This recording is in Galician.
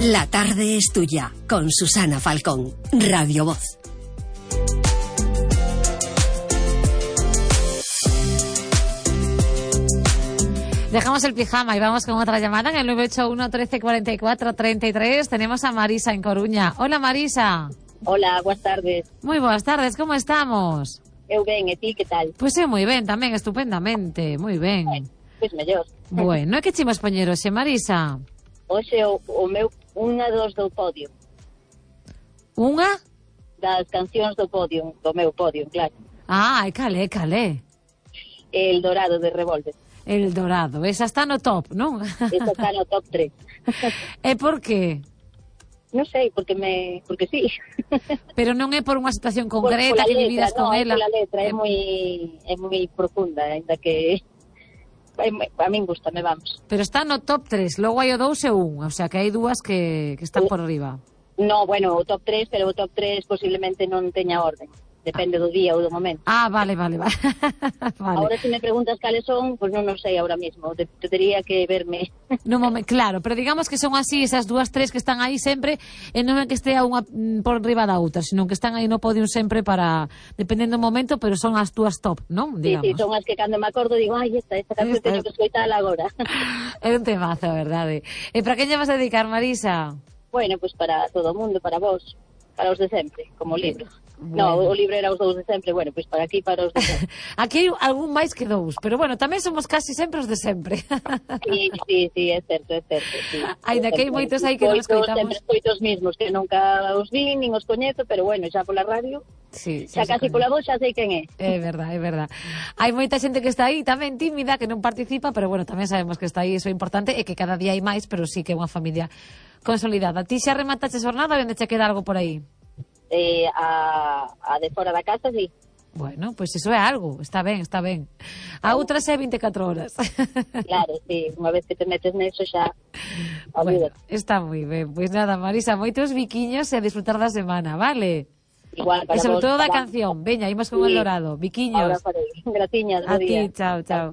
La tarde es tuya, con Susana Falcón, Radio Voz. Dejamos el pijama y vamos con otra llamada en el 981 13 44 33. Tenemos a Marisa en Coruña. Hola, Marisa. Hola, buenas tardes. Muy buenas tardes, como estamos? Eu ben, e ti, que tal? Pois moi ben, tamén, estupendamente, moi ben. Pois mellor. Bueno, e que chimos poñer hoxe, Marisa? Hoxe o meu, unha dos do podio. Unha? Das cancións do podio, do meu podio, claro. Ah, e calé. El Dorado de Revolver. El Dorado, esa está no top, non? Esa está no top 3. E por qué? Non sei, porque sí. Pero non é por unha situación concreta que vividas con ela. Non, a letra é moi profunda, ainda que a min gustame, vamos. Pero está no top 3, logo hai o 2 e o 1, o sea que hai dúas que están por arriba. No, bueno, o top 3, pero o top 3 posiblemente non teña orden. Depende do día ou do momento. Ah, vale. Vale. Ahora, se me preguntas cales son, pues non sei ahora mismo. Tería que verme. No momento, claro, pero digamos que son así esas dúas, tres que están aí sempre, e non é que estea unha por riba da outra, sino que están aí no podium sempre para, dependendo do momento, pero son as túas top, non? Digamos. Sí, son as que cando me acordo digo, ai, esta canción teño que escoitar agora. É un temazo, verdade. E para quen lle vas a dedicar, Marisa? Bueno, pues para todo o mundo, para vos, para os de sempre, como libro. Bueno. No, o libro era os dous de sempre, bueno, pois para aquí, para os de sempre. Aquí hai algún máis que dous, pero bueno, tamén somos casi sempre os de sempre. Sí, é certo, sí. Ainda que hai moitos aí que non escoitamos. Sempre escoito os mismos, que nunca os vi, nin os coñezo, pero bueno, xa pola radio, sí, xa casi pola voz xa sei quen é. É verdade. Hai moita xente que está aí tamén tímida, que non participa, pero bueno, tamén sabemos que está aí, iso é importante, e que cada día hai máis, pero sí que é unha familia consolidada. Ti xa remataches jornada ou onde che queda algo por aí? A de fora da casa, sí. Bueno, pois iso é algo, está ben. A outra é 24 horas. Claro, sí, unha vez que te metes neso xa bueno, está moi ben. Pois nada, Marisa, moitos biquiños e a disfrutar da semana, vale? Igual, para e sobre vos, todo da canción. Veña, imos con El Dorado. Biquiños. Ahora farei. Gratiñas, a ti, chao.